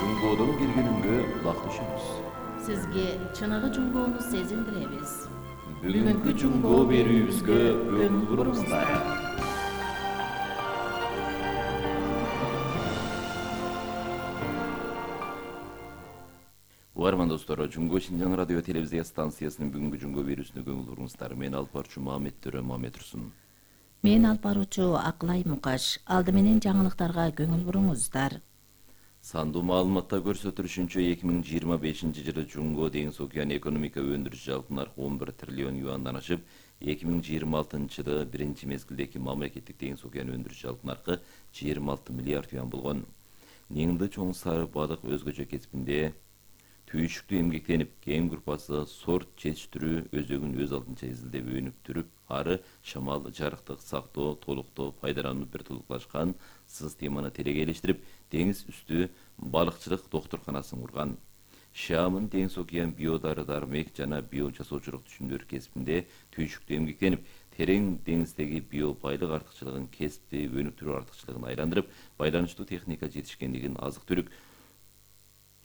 Жунгодон келгенimге кулак түшүмүз. Сизге чыныгы жунгоону сезиндиребиз. Бүгүнкү жунгоо берүүбүзгө көңүл буруңуздар. Угарман достор, Жунгоо Шинжаң радио телевизия станциясынын бүгүнкү жунгоо берүүсүнө көңүл буруңуздар. Мен алып баруучу Мамет Төрө Мамет Турсун. Мен алып баруучу Акылай Мукаш. Алды менен жаңылыктарга көңүл буруңуздар. Сандуу маалыматта көрсөтүлүшүнчө 2025-жылы Жунгоо деңиз океан экономика өндүрүш жалпы наркы 11 триллион юандан ашып, 2026-жылы биринчи мезгилдеги мамлекеттик деңиз океан өндүрүш жалпы наркы 26 миллиард юан болгон. Неңди чоң сары балык өзгөчө кесипинде түйшүктүү эмгектенип, кем группасы сорт жетиштирүү өзөгүн өз алдынча изилдеп өнүктүрүп, ары шамал, жарыктык сактоо, толуктоо, пайдаланууну бир тулуклашкан системаны телегейлештирип, деңиз үстү балыкчылык доктурканасын курган. Шамын деңиз океан биодары дармек жана био жасоочулук түшүмдөр кесипинде түйшүктүү эмгектенип, терең деңиздеги био байлык артыкчылыгын кесипти өнүктүрүү артыкчылыгын айландырып, байланыштуу техника жетишкендигин азык-түлүк,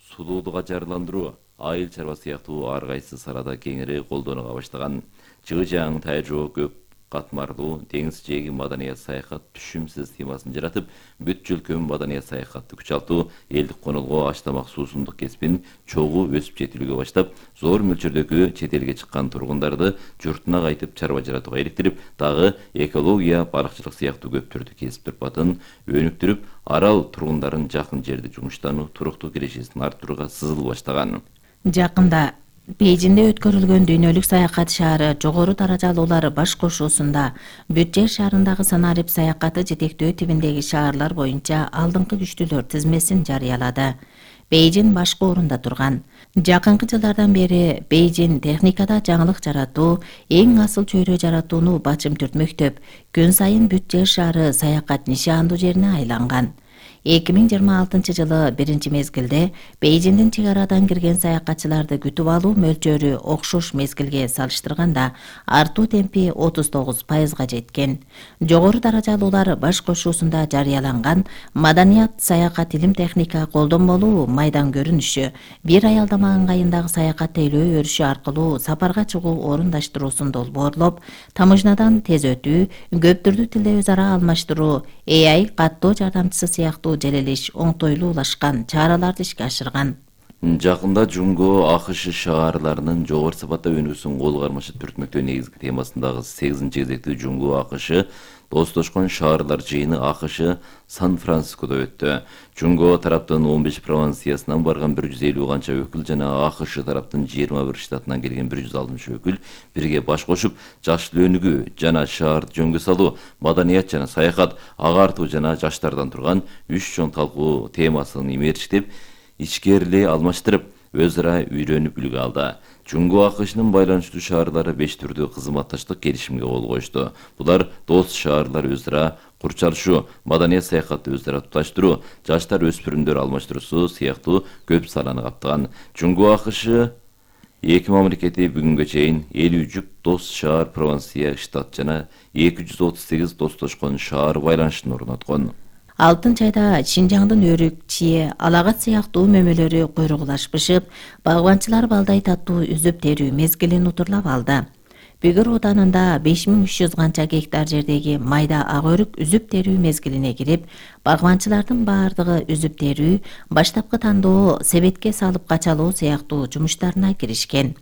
сулуулук ажарландыруу, айыл чарба сыяктуу ар кайсы салада кеңири колдоnuга баштаган. Чыгы-жаң, тайжоо, көп катмарлуу деңиз жээги маданият саякат түшүм системасын жаратып, бүт жөлкөм маданият саякатты күчалтуу, элдик конолго аш-тамак суусундук кесипин чогуу өсүп жетилүүгө баштап, зор мөлчөрдөгү чет элге чыккан тургундарды журтуна кайтып чарба жаратууга иликтирип, дагы экология, балыкчылык сыяктуу көптөрдү кесип турпатын өнүктүрүп, арал тургундарын жакын жерде жумуштануу, туруктуу кирешесин арттырууга сызыл баштаган. Жакында Бейжинде өткөрүлгөн дүйнөлүк саякат шаары жогору даражалуулар баш кошуусунда Бүт шаарындагы санарип саякаты жетектөө тибиндеги шаарлар боюнча алдыңкы күчтүүлөр тизмесин жарыялады. Бейжин башкы орунда турган. Жакынкы жылдардан бери Бейжин техникада жаңылык жаратуу, эң асыл чөйрө жаратууну бачым түртмөктөп, күн сайын Бүт шаары саякат нишандуу жерине айланган. 2026-жылы биринчи мезгилде Бейжиндин чек арадан кирген саякатчыларды күтүп алуу мөлчөрү окшош мезгилге салыштырганда артуу темпи 39%га жеткен. Жогору даражалуулар баш кошуусунда жарыяланган маданият, саякат, илим, техника, колдонмолуу майдан көрүнүшү, бир аялдама ыңгайындагы саякат тейлөө өрүшү аркылуу сапарга чыгуу орундаштыруусун долбоорлоп, тамыжнадан тез өтүү, көп түрдүү тилде өз ара алмаштыруу, AI каттоо жардамчысы сыяктуу желелиш оңтойлуулашкан чараларды ишке ашырган. Жакында Жунгоо АКШ шаарларынын жогору сапатта өнүүсүн кол кармашы түртмөктөө негизги темасындагы 8-чи кезектүү Жунгоо АКШ достошкон шаарлар жыйыны АКШ Сан-Францискодо өттү. Жунгоо тараптын 15 провинциясынан барган 150 канча өкүл жана АКШ тараптын 21 штатынан келген 160 өкүл бирге баш кошуп, жаштыл өнүгүү жана шаарды жөнгө салуу, маданият жана саякат, агартуу жана жаштардан турган 3 чоң талкуу темасын имериштеп, ичкерилей алмаштырып, өз ара үйрөнүп үлгү алды. Жунгоо АКШнын байланыштуу шаарлары 5 түрдүү кызматташтык келишимге кол коюшту. Булар дос шаарлар өз ара курчалышуу, маданият саякатты өз ара туташтыруу, жаштар өспүрүмдөр алмаштыруусу сыяктуу көп саланы каптаган. Жунгоо АКШ эки мамлекети бүгүнгө чейин 50 жүк дос шаар, провинция, штат жана 238 достошкон шаар байланышын орноткон. Алтын чайда Шинжаңдын өрүк, чие, алагат сыяктуу мөмөлөрү куйругулашпышып, багбанчылар балдай таттуу үзүп терүү мезгилин утурлап алды. Бүгүр Ауданында 5300 канча гектар жердеги майда ак өрүк үзүп терүү мезгилине кирип, багбанчылардын баардыгы үзүп терүү, баштапкы тандоо, себетке салып качалоо сыяктуу жумуштарына киришкен.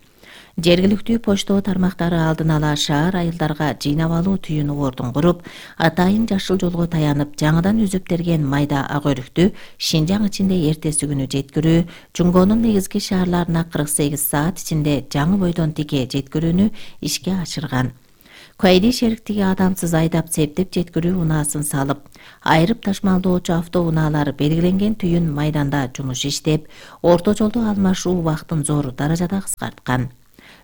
Жергиликтүү почтоо тармактары алдын ала шаар айылдарга жыйнап алуу түйүнү ордун куруп, атайын жашыл жолго таянып, жаңыдан үзүп терген майда ак өрүктү Шинжаң ичинде эртеси күнү жеткирүү, Жунгоонун негизги шаарларына 48 саат ичинде жаңы бойдон тике жеткирүүнү ишке ашырган. Куайди шериктиги адамсыз айдап септеп жеткирүү унаасын салып, айрып ташмалдоочу автоунаалар белгиленген түйүн майданда жумуш иштеп, орто жолду алмашуу убактын зор даражада кыскарткан.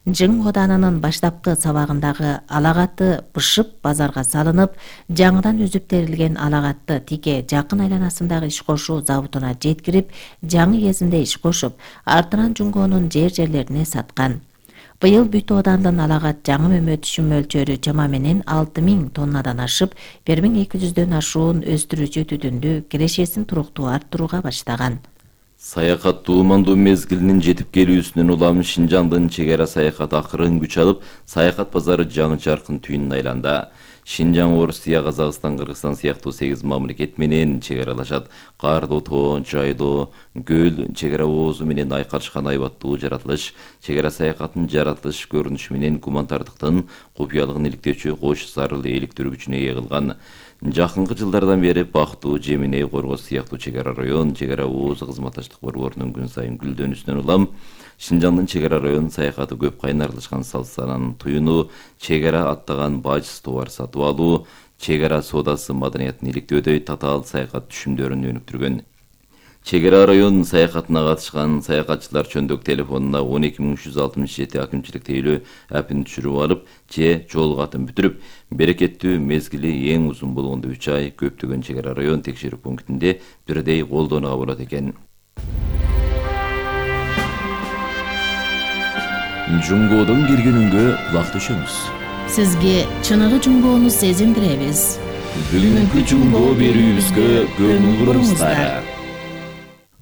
Жың Оданынын баштапкы сабагындагы алагатты бышып базарга салынып, жаңыдан үзүп терилген алагатты тике жакын айланасындагы иш кошуу заводуна жеткирип, жаңы кезинде иш кошуп, артынан Жунгоонун жерлерине саткан. Быйыл Бүт Оодандын алагат жаңы мөмө түшүм мөлчөрү чама менен 6000 тоннадан ашып, 1200дөн ашуун өстүрүүчү түтүндү кирешесин туруктуу арттырууга баштаган. Саякат туумандуу мезгилинин жетип келүүсүнөн улам Шинжаңдын чегара саякаты акырын күч алып, саякат базары жаңы жаркын түйүнүн айланда. Шинжаң, Орусия, Казакстан, Кыргызстан сыяктуу 8 мамлекет менен чегаралашат. Кардуу тоо, жайлуу, көл, чегара оозу менен айкалышкан айбаттуу жаратылыш, чегара саякатынын жаратылыш көрүнүшү менен гуманитардыктын купуялыгын иликтөөчү кош зарыл eelиктирүүчүнө ээ кылган. Жакынкы жылдардан бери Бактуу, Жемине, Коргоз сыяктуу чегара район, чегара оозу кызматташтык борборунун күн сайын гүлдөнүүсүнөн улам Шинжаңдын чегара район саякаты көп кайнарлашкан салсанан туюну, чегара аттаган бажсыз товар сатып алуу, чегара соодасы маданиятын иликтөөдөй татаал саякат түшүмдөрүн өнүктүргөн. Чегара район саякатына катышкан саякатчылар чөндүк телефонуна 12367 акимчилик тейлөө апин түшүрүп алып, же жол катын бүтүрүп, берекеттүү мезгили эң узун болгондо 3 ай көптөгөн чегара район текшерүү пунктинде бирдей колдонууга болот экен. Жунгодон киргенүнгө кулак түшөмүз. Сизге чыныгы жунгоону сезиндиребиз. Бүгүнкү жунгоо берүүбүзгө көңүл буруңуздар.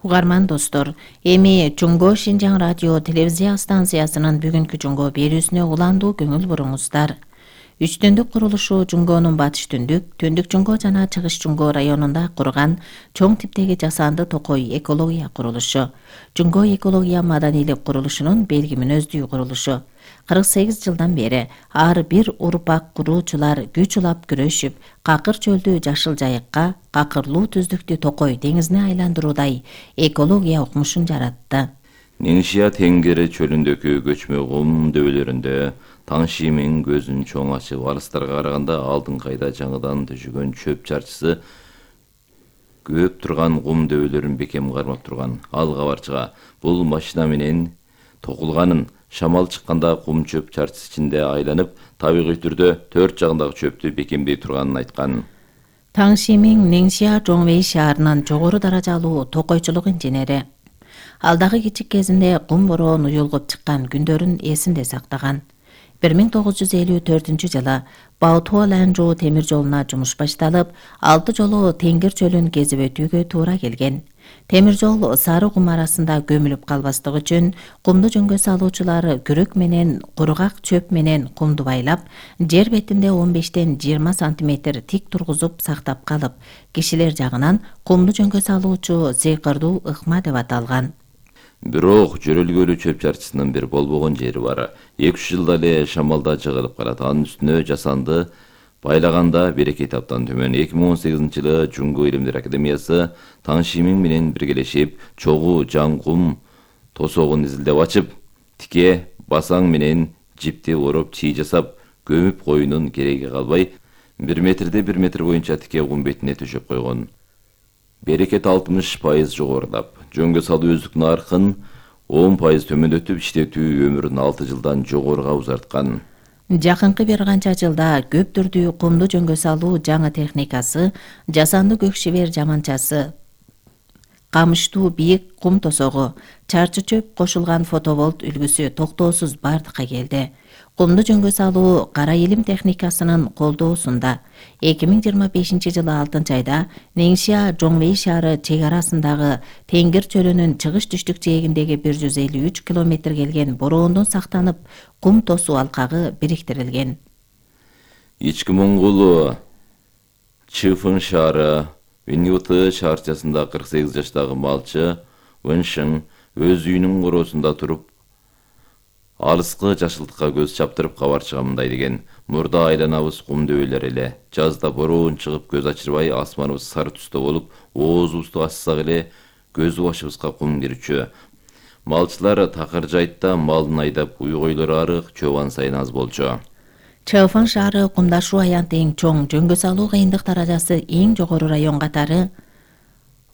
Угарман достор, эми Жунгоо Шинжаң радио телевизия станциясынын бүгүнкү жунгоо берүүсүнө уландуу көңүл буруңуздар. Үч түндүк курулушу Жунгоонун батыш түндүк, түндүк Жунгоо жана чыгыш Жунгоо районунда курган чоң типтеги жасанды токой экология курулушу. Жунгоо экология маданийлик курулушунун белги мүнөздүү курулушу. 48 жылдан бери ар бир урпак куруучулар күч улап күрөшүп, какыр чөлдү жашыл жайыкка, какырлуу түздүктү токой деңизине айландыруудай экология укмушун жаратты. Неңшия теңгери чөлүндөгү көчмө кум дөбөлөрүндө Таңшимин көзүн чоң ачып, алыстарга караганда алдыңкайда жаңыдан төшөгөн чөп чарчысы көп турган кум дөбөлөрүн бекем кармап турган. Ал кабарчыга бул машина менен токулганын, шамал чыкканда кум чөп чарчысы ичинде айланып, табигый түрдө төрт жагындагы чөптү бекемдей турганын айткан. Таңшимин Неңшия Жоңвей шаарынын жогору даражалуу токойчулук инженери. Ал дагы кичик кезинде кум бороон уюлгуп чыккан күндөрүн эсинде сактаган. 1954 жылы Баутуо-Ланжуу темир жолуна жумуш башталып, 6 жолу Теңгир чөлүн кезип өтүүгө туура келген. Темир жол сары кум арасында көмүлүп калбастык үчүн кумду жөнгө салуучулар күрөк менен кургак чөп менен кумду байлап, жер бетинде 15-тен 20 сантиметр тик тургузуп сактап калып, кишилер жагынан кумду жөнгө салуучу сыйкырдуу ыкма деп аталган. Бирок жөрөлгөлүү чөп чарчысынын бир болбогон жери бар. 2 жылда эле шамалда жыгылып калат. Анын үстүнө жасанды байлаганда берекети абдан төмөн. 2018 жылы Жунгоо Илимдер Академиясы Таңшимин менен биргелешип, чогуу жаңкум тосогун изилдеп ачып, тике басаң менен жипти ороп чий жасап, көмүп коюунун кереги калбай, 1 метрде 1 метр боюнча тике кум бетине төшөп койгон. Берекет 60% жогорулап, жөнгө салуу өздүк наркын 10% төмөндөтүп, иштетүү өмүрүн 6 жылдан жогоруга узарткан. Жакынкы бир канча жылда көп түрдүү кумду жөнгө салуу жаңы техникасы, жасанды көкшебер жаманчасы, камыштуу бийик кум тосогу, чарчы чөп кошулган фотоволт үлгүсү токтоосуз бардыкка келди. Кумду жөнгө салуу кара илим техникасынын колдоосунда 2025 жылы 6 айда Неңшия Жоңвей шаары чек арасындагы Теңгир чөлүнүн чыгыш түштүк жээгиндеги 153 километр келген бороондон сактанып, кум тосуу алкагы бириктирилген. Ички Моңгол Чыфын шаары Виньюты шаарчасында 48 жаштагы малчы Вэншин өз үйүнүн короосунда туруп, алыскы жашылтыкка көз чаптырып кабарчыга мындай деген: мурда айланабыз кум дөбөлөр эле. Жазда бороон чыгып көз ачырбай, асманыбыз сары түстө болуп, оозубузду ачсак эле көз башыбызга кум кирчү. Малчылар такыр жайтта малын айдап, уйгойлор арык, чобан сайын аз болчу. Чыфын шаары кумдашуу аянты эң чоң, жөнгө салуу кыйындык даражасы эң жогору район катары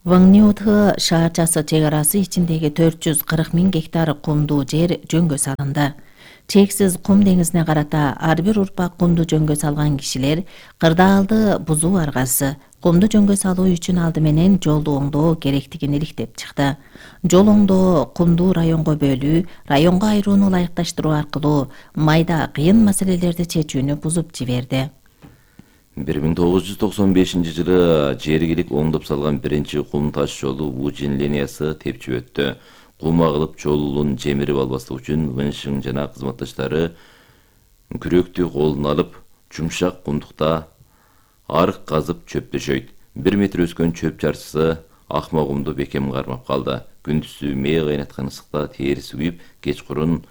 Ваңниутхы шаарчасы чек арасы ичиндеги 440 000 гектар кумдуу жер жөнгө салынды. Чексиз кум деңизине карата ар бир урпак кумду жөнгө салган кишилер кырдаалды бузуу аргасы кумду жөнгө салуу үчүн алды менен жолду оңдоо керектигин иликтеп чыкты. Жол оңдоо кумду районго бөлүү, районго айрууну ылайыкташтыруу аркылуу майда кыйын маселелерди чечүүнү бузуп жиберди. 1995-жылы жергилик оңдоп салган биринчи кум таш жолу Ужин линиясы тепчип өттү. Кум агылып жолун жемирип албаслык үчүн Вэншин жана кызматташтары күрөктү колуна алып, жумшак кумдукта арык казып чөп төшөйт. 1 метр өскөн чөп чарчысы акма кумду бекем кармап калды. Күндүзү мээ кайнаткан ысыкта териси күйүп, кечкурун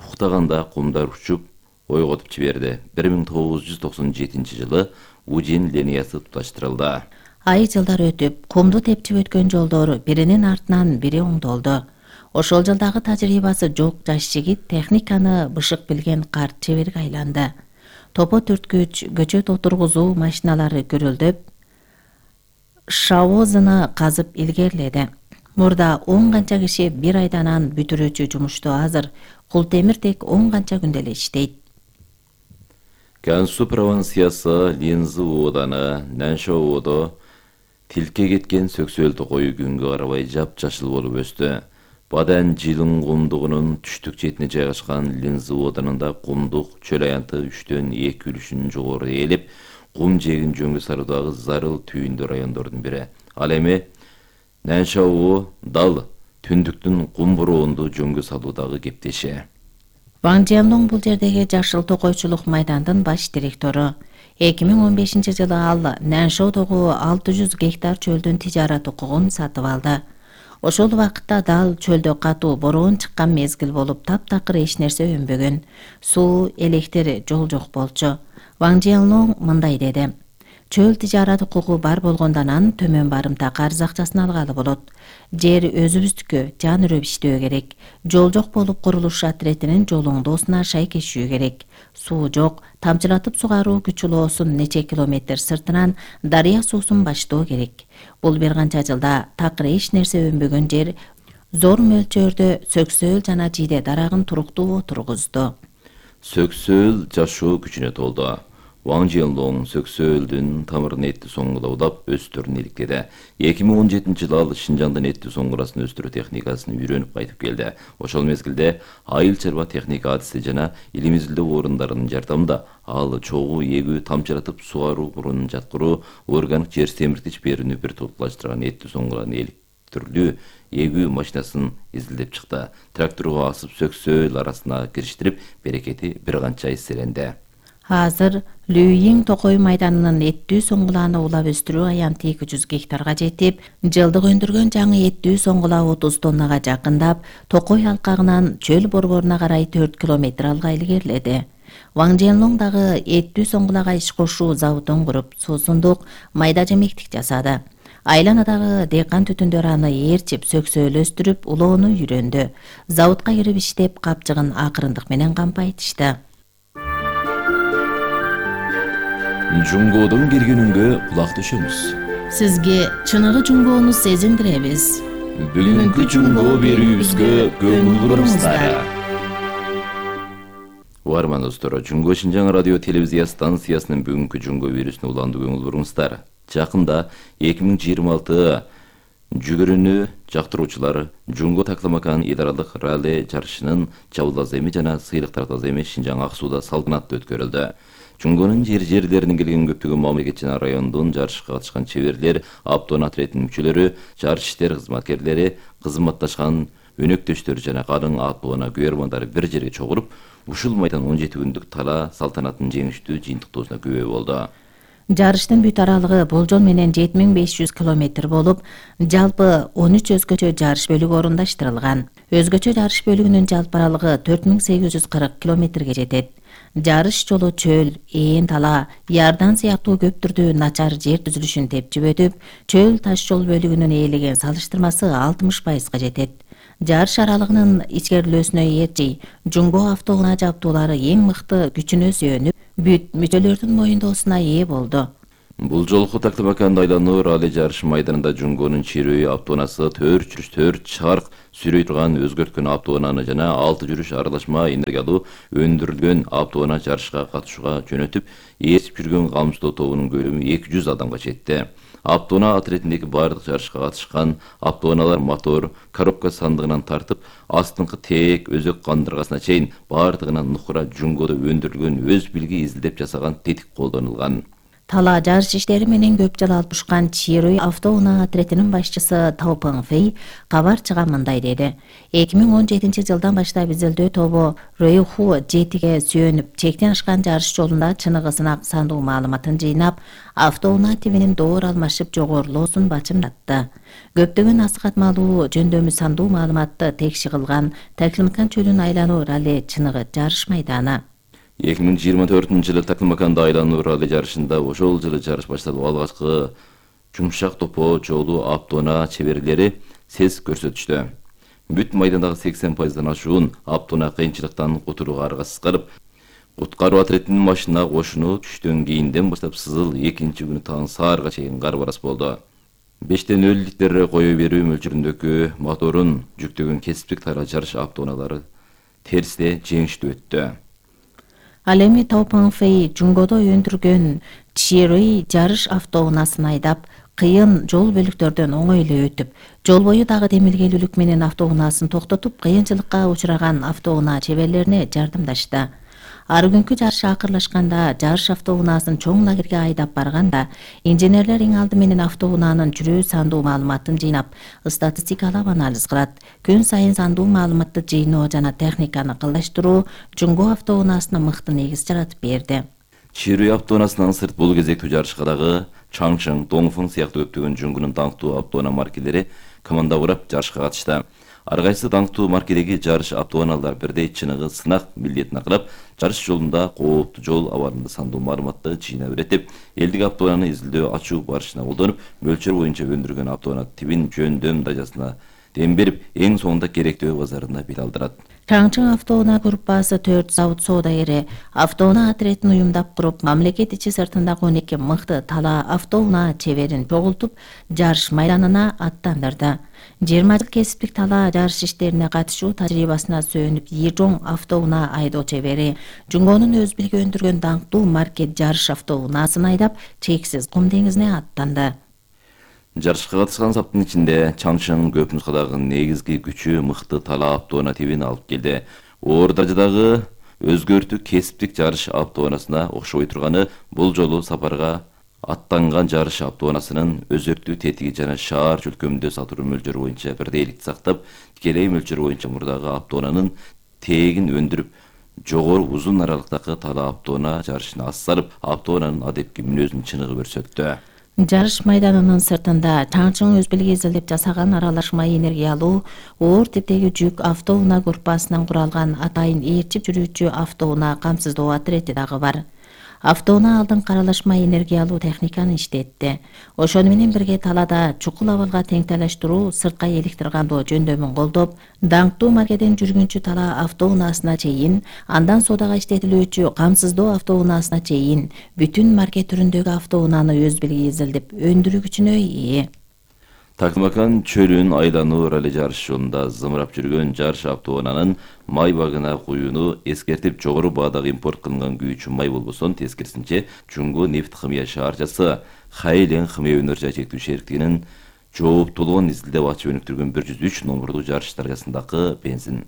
уктаганда кумдар учуп, ойготуп жиберди. 1997-жылы Ужин линиясы туташтырылды. Ай жылдар өтүп, кумду тепчип өткөн жолдор биринин артынан бири оңдолду. Ошол жылдагы тажрыйбасы жок жаш жигит техниканы бышык билген карт чеберге айланды. Топо түрткүч, көчөт отургузуу машиналары көрөлдөп, шавозуна казып илгерледи. Мурда 10 канча киши бир айданан бүтүрүүчү жумушту азыр, кул темиртек 10 канча күндө эле иштейт. Gansu провинциясы Линзы ооданы Наншоодо тилке кеткен сөксөлтү кою күнгө карабай жапжашыл болуп өстү. Бадан жылын кумдугунун түштүк четине жайгашкан Линзы оодарында кумдук чөл аянты 3-төн 2 үлүшүн жогору ээлеп, кум жегин жөнгө салуудагы зарыл түйүндүү райондордун бири. Ал эми Наншоо дал түндүктүн кум бороонду жөнгө салуудагы кептеши. Ван Жианлонг бул жердеги жашыл токойчулук майдандын баш директору. 2015-жылы ал Наншоодогу 600 гектар чөлдүн тижарат укугун сатып алды. Ошол убакытта дал чөлдө катуу бороон чыккан мезгил болуп, таптакыр эч нерсе өнбөгөн. Суу, электр, жол жок болчу. Ван Жианлонг мындай деди: чөл тижарат укугу бар болгондон анын төмөн барымта карыз акчасын алгалы болот. Жер өзүбүздүкү, жан үрөп иштөө керек. Жол жок болуп, курулуш отретинин жолуңдоосуна шайкешүү керек. Суу жок, тамчылатып сугаруу күчүлоосун нече километр сыртынан дарыя суусун баштоо керек. Бул бир канча жылда такыр эч нерсе өнбөгөн жер зор мөлчөрдө сөксөөл жана жиде дарагын туруктуу отургузду. Сөксөөл жашоо күчүнө толду. Ван Жианлонг сөксөөлдүн тамырын этти соңгулаудап өстөрүн иликтеди. 2017-жылы ал Шинжаңдын этти соңгурасын өстүрүү техникасын үйрөнүп кайтып келди. Ошол мезгилде айыл чарба техника адиси жана илим изилдөө орундарынын жардамында ал чогуу эгүү, тамчылатып сугаруу курунун жаткыруу, органик жер семиртич берүүнү бир туплаштырган этти соңгуланын электрлүү эгүү машинасын изилдеп чыкты. Тракторго асып сөксөөл арасына кириштирип, берекети бир канча эселенди. Азыр Лүйин токой майданынын эттүү соңгуланы улап өстүрүү аянты 200 гектарга жетип, жылдык өндүргөн жаңы эттүү соңгула 30 тоннага жакындап, токой алкагынан чөл борборуна карай 4 километр алга илгерледи. Ван Жианлонг дагы эттүү соңгулага иш кошуу заводун куруп, суусундук, майда жемектик жасады. Айланадагы дыйкан түтүндөр аны ээрчип, сөксөөл өстүрүп, улоону үйрөндү. Заводко кирип иштеп, капчыгын акырындык менен кампайтышты. Жунгодун киргенүнгө кулак төшөмүз. Сизге чыныгы жунгоону сезиндиребиз. Бүгүнкү жунгоо берүүбүзгө көңүл буруңуздар. Угарман достор, Жунго Шинжаң радио телевизия станциясынын бүгүнкү жунгоо берүүсүнө уланды көңүл буруңуздар. Жакында 2026 жүгүрүүнү жактыруучулар Жунго такламакан идаралык ралли жарышынын чабыл аземи жана сыйлык тартаземи Шинжаң Ак сууда салтанаттуу өткөрүлдү. Жунгонун жерлеринен келген көптөгөн мамлекет жана райондун жарышка катышкан чеберлер, автоун отретинин мүчөлөрү, жарыш иштер кызматкерлери, кызматташкан өнөктөштөр жана калың автоуна күйөрмандары бир жерге чогулуп, ушул майдан 17 күндүк тала салтанаттын жеңиштүү жыйынтыктоосуна күбө болду. Жарыштын бүт аралыгы болжол менен 7500 километр болуп, жалпы 13 өзгөчө жарыш бөлүгү орундаштырылган. Өзгөчө жарыш бөлүгүнүн жалпы аралыгы 4840 километрге жетет. Жарыш жолу чөл, ээн тала, ярдан сыяктуу көп түрдүү начар жер түзүлүшүн тепчип өтүп, чөл таш жол бөлүгүнүн ээлеген салыштырмасы 60%га жетет. Жарыш аралыгынын ичкерилүүсүнө ээрчи Жунго автоунаа жабдуулары эң мыкты күчүнө сүйөнүп, бүт мүчөлөрдүн моюндоосуна ээ болду. Бул жолку такламаканды айлануу ралли жарыш майданында Жунгонун чирөө автоунаасы 4 чарк сүрөй турган өзгөрткөн автоунааны жана 6 жүрүш аралашма энергиялуу өндүрүлгөн автоунаа жарышка катышууга жөнөтүп, ээрчип жүргөн камсыздоо тобунун көлөмү 200 адамга жетти. Автоунаа отретиндеги бардык жарышка катышкан автоунаалар мотор, коробка сандыгынан тартып, астыңкы тээк, өзөк кандыргасына чейин бардыгынан нукура Жунгодо өндүрүлгөн өз билги изилдеп жасаган тетик колдонулган. Талаа жарыш иштери менен көп жыл алышкан Чируй автоунаа отрядынын башчысы Тау Пыңфэй кабар чыга мындай деди. 2017 жылдан баштап изилдөө тобу Рөйху жетиге сүйөнүп, чектен ашкан жарыш жолунда чыныгы сынак сандуу маалыматын жыйнап, автоунаа тибинин доор алмашып жогорулоосун бачымдатты. Көптөгөн асыкатмалуу жөндөмү сандуу маалыматты текши кылган Таклимакан чөлүн айлануу ралли чыныгы жарыш майданы. 2024-жылы Таклимаканда айлануу ралли жарышында ошол жылы жарыш башталып алгачкы жумшак топо жолу автоунаа чеберлери сес көрсөтүштү. Бүт майдандагы 80%дан ашуун автоунаа кыйынчылыктан кутурууга аргасыз калып, куткаруу отрядынын машина кошуну түштөн кийинден баштап Сызыл экинчи күнү таң саарга чейин карбарас болду. 5,0 литр кое берүү мөлчөрүндөгү моторун жүктөгөн кесиптик тара жарыш автоунаалары терсте жеңиштүү өттү. Ал эми Тау Пыңфэй Жунгодо өндүргөн Чируй жарыш автоунаасын айдап, кыйын жол бөлүктөрдөн оңой эле өтүп, жол бою дагы демилгелүүлүк менен автоунаасын токтотуп, кыйынчылыкка учураган автоунаа чеберлерине жардамдашты. Ар күнкү жарыш акырлашканда жарыш автоунаасын чоң лагерге айдап барганда, инженерлер эң алды менен автоунаанын жүрүү сандуу маалыматын жыйнап, статистикалап анализ кылат. Күн сайын сандуу маалыматты жыйноо жана техниканы кылдаштыруу Жунго автоунаасына мыкты негиз жаратып берди. Чируй автоунаасынан сырт бул кезектүү жарышка дагы Чаңчың, Доңфың сыяктуу көптөгөн Жунгунун даңктуу автоунаа маркелери команда курап жарышка катышты. Ар кайсы даңктуу маркедеги жарыш автоунаалар бирдей чыныгы сынак милдетин акылап, жарыш жолунда кооптуу жол абалында сандуу маалыматты жыйнап иретип, элдик автоунааны изилдөө ачуу барышына колдонуп, мөлчөр боюнча өндүргөн автоунаа тибин жөндөм даражасына дем берип, эң соңунда керектөө базарына бет алдырат. Чаңчың автоунаа группасы 4 завод соодагери автоунаа отрядын уюмдап куруп, мамлекет ичи сыртындагы 12 мыкты талаа автоунаа чеберин чогултуп, жарыш майданына аттандырды. 20 жыл кесиптик талаа жарыш иштерине катышуу тажрыйбасына сүйөнүп, Ежоң автоунаа айдоо чебери Жунгонун өз билге өндүргөн даңктуу маркет жарыш автоунаасын айдап, чексиз кум деңизине аттанды. Жарышка катышкан саптын ичинде Чаңчың көп нускадагы негизги күчү мыкты талаа автоунаа тибин алып келди. Оор даражадагы өзгөртүү кесиптик жарыш автоунаасына окшобой турганы бул жолу сапарга аттанган жарыш автоунаасынын өзөртүү тетиги жана шаар чөлкөмүндө сатыруу мөлчөрү боюнча бирдейликти сактап, тикелей мөлчөр боюнча мурдагы автоунаанын тегин өндүрүп, жогору узун аралыктагы талаа автоунаа жарышына ас салып, автоунаанын адепки мүнөзүн чыныгы көрсөттү. Жарыш майданынын сыртында Чаңчың өз билге изилдеп жасаган аралашма энергиялуу оор типтеги жүк автоунаа группасынан куралган атайын ээрчип жүрүүчү автоунаа камсыздоо отрети дагы бар. Автоунаа алдыңкы аралашма энергиялуу техниканы иштетти. Ошону менен бирге талаада чукул абалга теңтелештирүү, сыртка электр кандоо жөндөмүн колдоп, даңктуу маркеден жүргүнчү талаа автоунаасына чейин, андан соодага иштетилүүчү камсыздоо автоунаасына чейин бүтүн маркет түрүндөгү автоунааны өз билге изилдеп өндүргүчүнө ээ. Таклимакан чөлүн айлануу ралли жарыш жолунда зымырап жүргөн жарыш автоунаанын май багына куюуну эскертип, жогору баадагы импорт кылынган күйүүчү май болбосун, тескерисинче Жунго нефт химия шаарчасы Хайлен химия өнөр чектүү шериктигинин жооптуулугун изилдеп ачып өнүктүргөн 103 номурдуу жарыш даражасындагы бензин.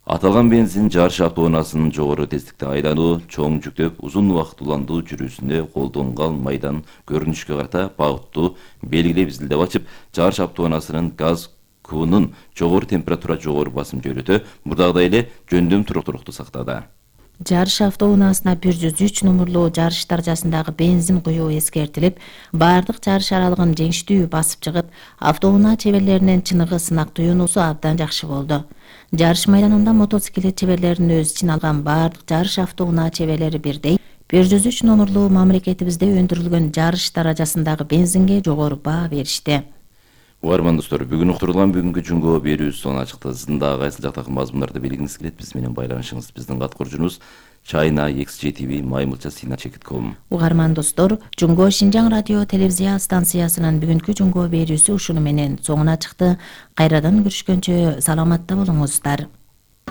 Аталган бензин жарыш автоунаасынын жогору тездикте айлануу, чоң жүктөп, узун убакыт уландуу жүрүүсүндө колдонгон майдан көрүнүшкө карата багыттуу белгилеп изилдеп ачып, жарыш автоунаасынын газ кубунун жогору температура, жогору басым жөнөтө, мурдагыдай эле жөндөм туруктуулукту сактады. Жарыш автоунаасына 103 номурлуу жарыш даражасындагы бензин куюу эскертилип, баардык жарыш аралыгын жеңиштүү басып чыгып, автоунаа чеберлеринин чыныгы сынак туюунусу абдан жакшы болду. Жарыш майданында мотоциклет чеберлеринин өз ичин алган баардык жарыш автоунаа чеберлери бирдей 103 номурлуу мамлекетибизде өндүрүлгөн жарыш даражасындагы бензинге жогору баа беришти. Угарман достор, бүгүн уктурулган бүгүнкү Жунго берүүсү сонуна чыкты. Сиздин дагы кайсыл жактагы мазмундарды билгиңиз келет, биз менен байланышыңыз. Биздин кат курчубуз China XGTV @china.com. Угарман достор, Жунго Шинжаң радио телевизия станциясынын бүгүнкү Жунго берүүсү ушуну менен соңуна чыкты. Кайрадан көрүшкөнчө саламатта болуңуздар.